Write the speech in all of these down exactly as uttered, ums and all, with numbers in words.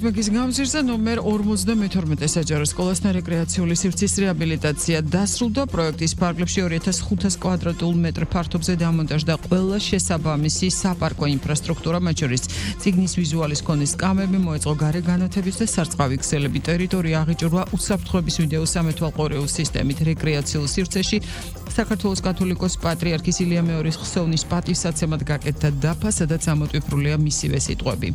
მაგის გამზირზე ნომერ ორმოცდამეთორმეტე საჯარო სკოლასთან რეკრეაციული სივრცის რეაბილიტაცია დასრულდა. პროექტის ფარგლებში ორი ათას ხუთას კვადრატულ მეტრ ფართობზე დამონტაჟდა ყველა შესაბამისი საპარკო ინფრასტრუქტურა, მათ შორის წიგნის ვიზუალის ქონის კამები, მოეწყო გარე განათების და სარწყავი ქსელები. ტერიტორია აღიჭრვა უსაფრთხოების ვიდეო სამეთვალყურეულ სისტემით. რეკრეაციულ სივრცეში საქართველოს კათოლიკოს პატრიარქის ილია მეორის ხსოვნის პატივსაცემად გაკეთდა დაფა, სადაც ამოტვიფრულია მისივე სიტყვები.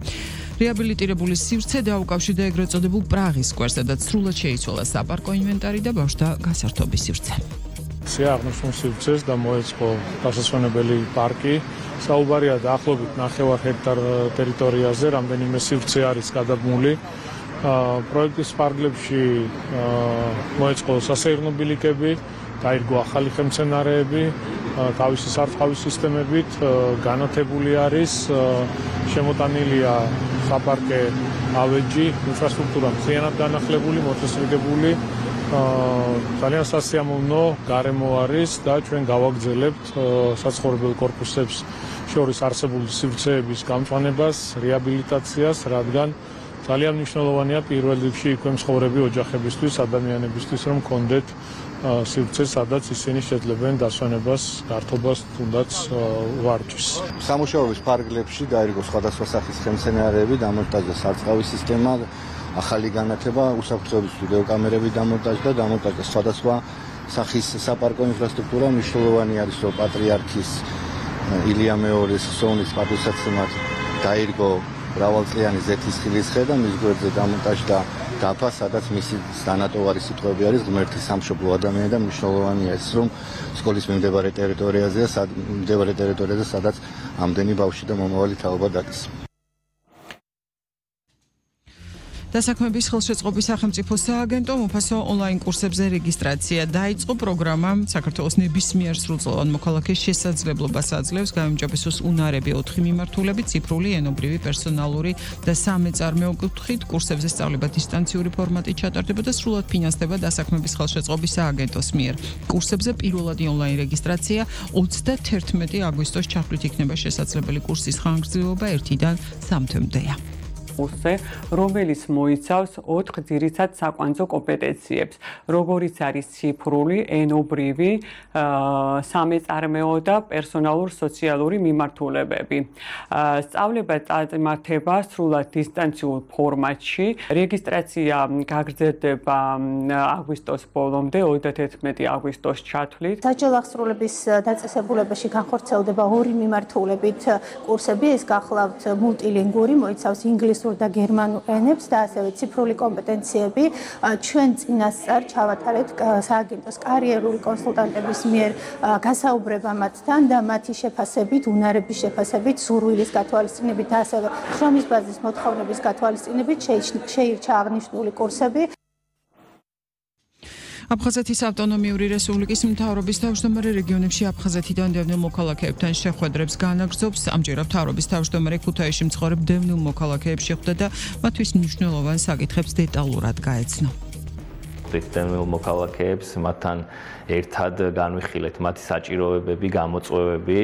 რეაბილიტირებული სივრცე დაუკავშირდა ეგრეთ წოდებულ პრაღის სკვერს, სადაც სრულად შეიცვალა საპარკო ინვენტარი და ბავშვთა გასართობის სივრცე. აღნიშნულ სივრცეს და მოეწყო გასასვენებელი პარკი. საუბარია დაახლოებით ნახევარ ჰექტარ ტერიტორიაზე, რამდენიმე სივრცე არის გადაბმული. პროექტის ფარგლებში მოეწყო სასეირნო ბილიკები, გაირგო ახალი ხელმცენარეები, თავისი სარწყავი სისტემებით, განათებული არის, შემოტანილია საპარკე ავეჯი, ინფრასტრუქტურა მთლიანად განახლებული, მოწესრიგებული, ძალიან სასიამოვნო გარემო არის და ჩვენ გავაგრძელებთ საცხოვრებელ კორპუსებს შორის არსებული სივრცეების გამწვანებას, რეაბილიტაციას, რადგან ძალიან მნიშვნელოვანია პირველ რიგში იქვე მცხოვრები ოჯახებისთვის, ადამიანებისთვის, რომ კონდეთ სივრცე, სადაც ისინი შეძლებენ დასვენებას, გართობას, თუნდაც ვარჯიშს. სამუშაოების ფარგლებში გაირგო სხვადასხვა სახის ხელმცენარეები, დამონტაჟდა სარწყავი სისტემა, ახალი განათება, უსაფრთხოების ვიდეოკამერები დამონტაჟდა, დამონტაჟდა სხვადასხვა სახის საპარკო ინფრასტრუქტურა. მნიშვნელოვანი არის, რომ პატრიარქის ილია მეორის ხსოვნის პატივსაცემად გაირგო მრავალწლიანი ზეთის ხილის ხე და მის გვერდზე დამონტაჟდა დაფა, სადაც მისი დანატოვარი სიტყვები არის ღმერთის სამშობლო ადამიანი და მნიშვნელოვანია ის, რომ სკოლის მიმდებარე ტერიტორიაზეა, მიმდებარე ტერიტორიაზე, სადაც ამდენი ბავშვი და მომავალი თაობა დადის. დასაქმების ხელშეწყობის სახელმწიფო სააგენტო უფასო ონლაინ კურსებზე რეგისტრაცია დაიწყო. პროგრამა საქართველოს ნებისმიერ სრულწლოვან მოქალაქეს შესაძლებლობას აძლევს გაიმჯობესოს უნარები ოთხი მიმართულები, ციფრული, ენობრივი, პერსონალური და სამეწარმეო კუთხით. კურსებზე სწავლება დისტანციური ფორმატით ჩატარდება და სრულად ფინანსდება დასაქმების ხელშეწყობის სააგენტოს მიერ. კურსებზე პირველადი ონლაინ რეგისტრაცია ოცდათერთმეტი აგვისტოს ჩათვლით იქნება შესაძლებელი. კურსის ხანგრძლივობა ერთიდან სამ თვემდეა. კურსზე, რომელიც მოიცავს ოთხ ძირითად საკვანძო კომპეტენციებს, როგორიც არის ციფრული, ენობრივი, სამეწარმეო და პერსონალურ-სოციალური მიმართულებები. სწავლება წამართება სრულად დისტანციურ ფორმატში. რეგისტრაცია გაგრძელდება აგვისტოს ბოლომდე, ოცდათერთმეტი აგვისტოს ჩათვლით. საჯარო აღსრულების დაწესებულებაში განხორციელდება ორი მიმართულებით კურსები, ეს გახლავთ მულტილინგური, მოიცავს ინგლისურ და გერმანულ ენებს და ასევე ციფრული კომპეტენციები. ჩვენ წინასწარ ჩავატარეთ სააგენტოს კარიერული კონსულტანტების მიერ გასაუბრება მათთან და მათი შეფასებით, უნარების შეფასებით, სურვილის გათვალისწინებით და ასევე შრომის ბაზის მოთხოვნების გათვალისწინებით შეირჩა აღნიშნული კურსები. აფხაზეთის ავტონომიური რესპუბლიკის მთავრობის თავმჯდომარე რეგიონებში აფხაზეთიდან დევნილ მოქალაქეებთან შეხვედრებს განაგრძობს. ამჯერად მთავრობის თავმჯდომარე ქუთაისში მცხოვრებ დევნილ მოქალაქეებს შეხვდა და მათთვის მნიშვნელოვან საკითხებს დეტალურად გაეცნო. დევნილ მოქალაქეებს მათთან ერთად განვიხილეთ მათი საჭიროებები, გამოწვევები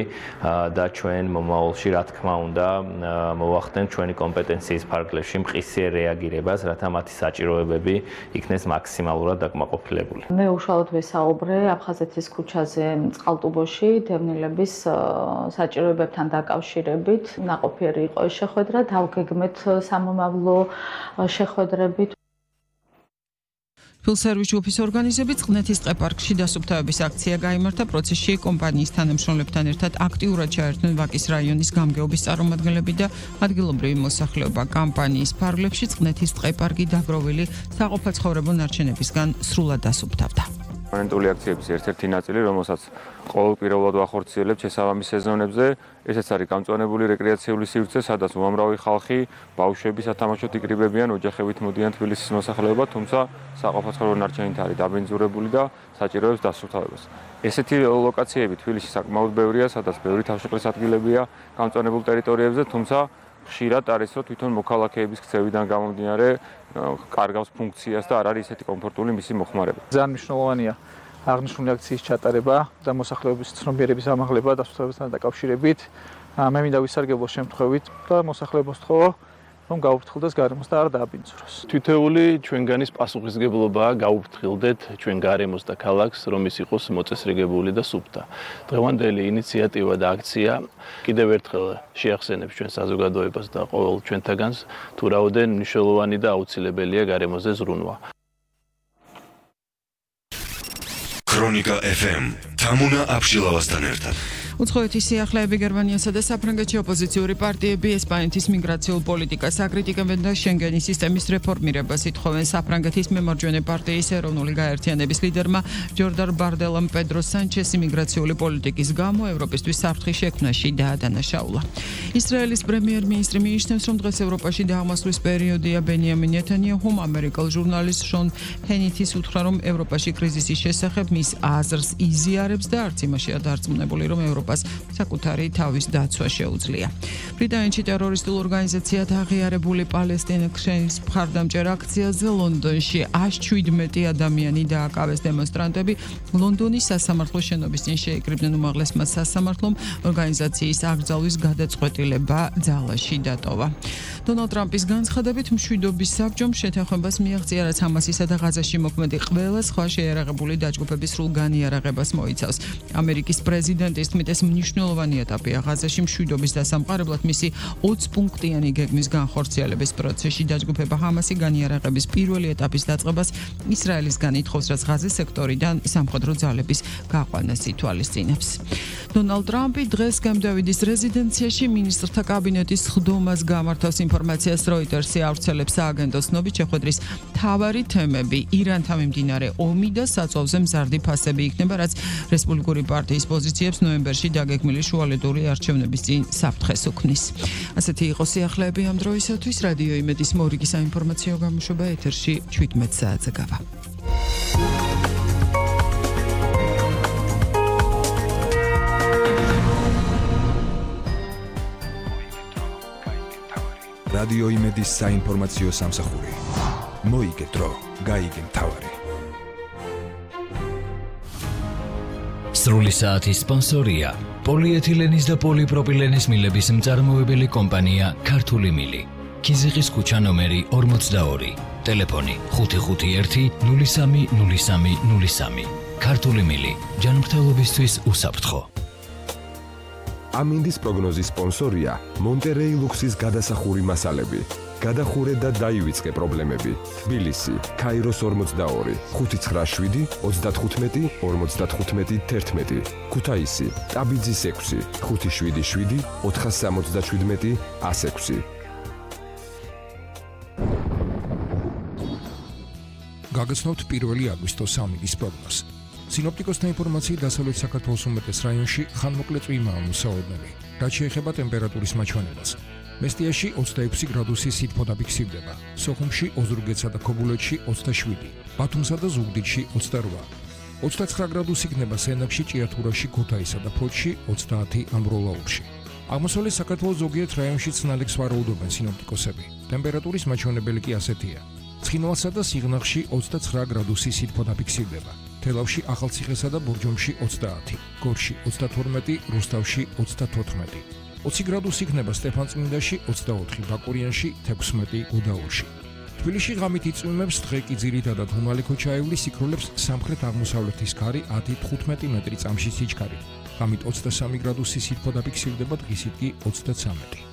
და ჩვენ მომავალში რა თქმა უნდა მოვახდენთ ჩვენი კომპეტენციის ფარგლებში მყისიერ რეაგირებას, რათა მათი საჭიროებები იქნეს მაქსიმალურად დაკმაყოფილებული. მე უშუალოდ ვესაუბრე აფხაზეთის ქუჩაზე წყალტუბოში დევნილების საჭიროებებთან დაკავშირებით. ნაყოფიერი იყო ეს შეხვედრა, დავგეგმეთ სამომავლო შეხვედრებით. ფილსერვის ჯგუფის ორგანიზებით წყნეთის ტყეპარკში დასუფთავების აქცია გაიმართა. პროცესში კომპანიის თანამშრომლებთან ერთად აქტიურად ჩაერთნენ ვაკის რაიონის გამგეობის წარმომადგენლები და ადგილობრივი მოსახლეობა. კამპანიის ფარგლებში წყნეთის ტყეპარკი დაგროვილი საყოფაცხოვრებო ნარჩენებისგან სრულად დასუფთავდა. პერმანენტული აქციების ერთ-ერთი ნაწილი, რომელსაც ყოველკვირეულად ვახორციელებთ შესაბამის სეზონებზე, ესეც არის გამწვანებული რეკრეაციული სივრცე, სადაც უამრავი ხალხი, ბავშვები სათამაშოდ იკრიბებიან, ოჯახებით მოდიან თბილისის მოსახლეობა, თუმცა საყოფაცხოვრებო ნარჩენით არის დაბინძურებული და საჭიროებს დასუფთავებას. ესეთი ლოკაციები თბილისში საკმაოდ ბევრია, სადაც ბევრი თავშეყრის ადგილებია გამწვანებულ ტერიტორიებზე, თუმცა ხშირად არის, რომ თვითონ მოქალაქეების ქცევიდან გამომდინარე კარგავს ფუნქციას და არ არის ისეთი კომფორტული მისი მოხმარება. ძალიან მნიშვნელოვანია აღნიშნული აქციის ჩატარება და მოსახლეობის ცნობიერების ამაღლება დასუფთავებასთან დაკავშირებით. მე მინდა ვისარგებლო შემთხვევით და მოსახლეობას ვთხოვო, რომ გაუფრთხილდეს გარემოს და არ დააბინძუროს. თითოეული ჩვენგანის პასუხისმგებლობაა გაუფრთხილდეთ ჩვენ გარემოს და ქალაქს, რომ ის იყოს მოწესრიგებული და სუფთა. დღევანდელი ინიციატივა და აქცია კიდევ ერთხელ შეახსენებს ჩვენ საზოგადოებას და ყოველ ჩვენთაგანს, თუ რაოდენ მნიშვნელოვანი და აუცილებელია გარემოზე ზრუნვა. ქრონიკა ეფ ემ თამუნა აბშილავასთან ერთად. უცხოეთის სიახლეები გერმანიასა და საფრანგეთში ოპოზიციური პარტიები ესპანეთის მიგრაციულ პოლიტიკას აკრიტიკებენ და შენგენის სისტემის რეფორმირებას ითხოვენ. საფრანგეთის მემარჯვენე პარტიის ეროვნული გაერთიანების ლიდერმა ჯორდან ბარდელამ პედრო სანჩესი მიგრაციული პოლიტიკის გამო ევროპისთვის საფრთხის შექმნაში დაადანაშაულა. ისრაელის პრემიერ-მინისტრი მიიჩნევს, რომ დღეს ევროპაში დაამასვლის პერიოდია. ბენიამინ ნეთანიაჰუმ ამერიკელ ჟურნალისტ შონ ჰენითის უთხრა, რომ ევროპაში კრიზისის შესახებ მის აზრს იზიარებს და არც იმაშია დარწმუნებული, რომ ევროპა საკუთარი თავის დაცვა შეუძლია. ბრიტანეთში ტერორისტულ ორგანიზაციად აღიარებული პალესტინელის მხარდამჭერ აქციაზე ლონდონში ათს შვიდმეტი ადამიანი დააკავეს. დემონსტრანტები ლონდონის სასამართლოს შენობის წინ შეიკრიბნენ უმაღლესმა სასამართლომ ორგანიზაციის აკრძალვის გადაწყვეტილება ძალაში დატოვა. დონალდ ტრამპის განცხადებით მშვიდობის საბჭომ შეთანხმებას მიაღწია, რაც ჰამასისა და ღაზაში მოქმედი ყველა სხვა შეიარაღებული დაჯგუფების სრულ განიარაღებას მოიცავს. ამერიკის პრეზიდენტის თქმით, ეს მნიშვნელოვანი ეტაპია ღაზაში მშვიდობის დასამყარებლად. მისი ოცი პუნქტიანი გეგმის განხორციელების პროცესში დაჯგუფება ჰამასი განიარაღების პირველი ეტაპის დაწყებას ისრაელისგან ითხოვს, რაც ღაზის სექტორიდან სამხედრო ძალების გაყვანას ითვალისწინებს. დონალდ ტრამპი დღეს კემპ-დევიდის რეზიდენციაში მინისტრთა კაბინეტის სხდომას გამართავს. ინფორმაციას როიტერსი ავრცელებს სააგენტოს ცნობით, შეხვედრის მთავარი თემები ირანთან მიმდინარე ომი და საწვავზე მზარდი ფასები იქნება, რაც რესპუბლიკური პარტიის პოზიციებს ნოემბერში დაგეგმილი შუალედური არჩევნების წინ საფრთხეს უქმნის. ასეთი იყო სიახლეები ამ დროისათვის. რადიო იმედის მორიგი საინფორმაციო გამოშვება ეთერში შვიდმეტ საათზე გავა. რადიო იმედის საინფორმაციო სამსახური. მოიგე დრო, გაიგე მთავარი. სრული საათის სპონსორია პოლიეთილენის და პოლიპროპილენის მილების მწარმოებელი კომპანია ქართული მილი. ქიზიყის ქუჩა ნომერი ორმოცდაორი. ტელეფონი ხუთი ხუთი ერთი ნული სამი ნული სამი ნული სამი. ქართული მილი. ჯანმრთელობისთვის უსაფრთხო. ამინდის პროგნოზის სპონსორია მონტერეი ლუქსის გადასახური მასალები. გადახურე და დაივიწყე პრობლემები. თბილისი, ქაიროს ორმოცდაორი, ხუთი ცხრა შვიდი ოცდათხუთმეტი ორმოცდათხუთმეტი თერთმეტი. ქუთაისი, ტაბიძის ექვსი, ხუთი შვიდი შვიდი ოთხასამოცდაშვიდმეტი ას ექვსი. გაგაცნობთ პირველი აგვისტოს ამინდის პროგნოზს. სინოპტიკოსთა ინფორმაციით დასავლეთ საქართველოს უმეტეს რაიონში ხანმოკლე წვიმაა მოსაოდნელი, რაც შეეხება ტემპერატურის მაჩვენებას. მესტიაში ოცდაექვსი გრადუსი სითბო დაფიქსირდება, სოხუმში, ოზურგეთსა და ქობულეთში ოცდაშვიდი, ბათუმსა და ზუგდიდში ოცდარვა, ოცდაცხრა გრადუსი იქნება სენაკში, ჭიათურაში, ქუთაისსა და ფოთში, ოცდაათი ამბროლაურში. აღმოსავლეთ საქართველოს ზოგიერთ რაიონში ცნალებს ვარაუდობენ სინოპტიკოსები. ტემპერატურის მაჩვენებელი კი ასეთია. ცხინვალსა და სიღნაღში ოცდაცხრა გრადუსი სითბო დაფიქსირდება. თელავში, ახალციხესა და ბორჯომში ოცდაათი, გორში ოცდათორმეტი, რუსთავში ოცდათოთხმეტი. ოცი გრადუსი იქნება სტეფანწმინდაში, ოცდაოთხი, ბაკურიანში, თექვსმეტი, გუდაურში. თბილისში ღამით იწვიმებს, დღე კი ძირითადად უმალი ქოჩაევლის იქროლებს სამხრეთ-აღმოსავლეთის ქარი ათი თხუთმეტი მეტრი წამში სიჩქარით. ღამით ოცდასამი გრადუსი სითბო დაფიქსირდება, დღისით კი ოცდაცამეტი.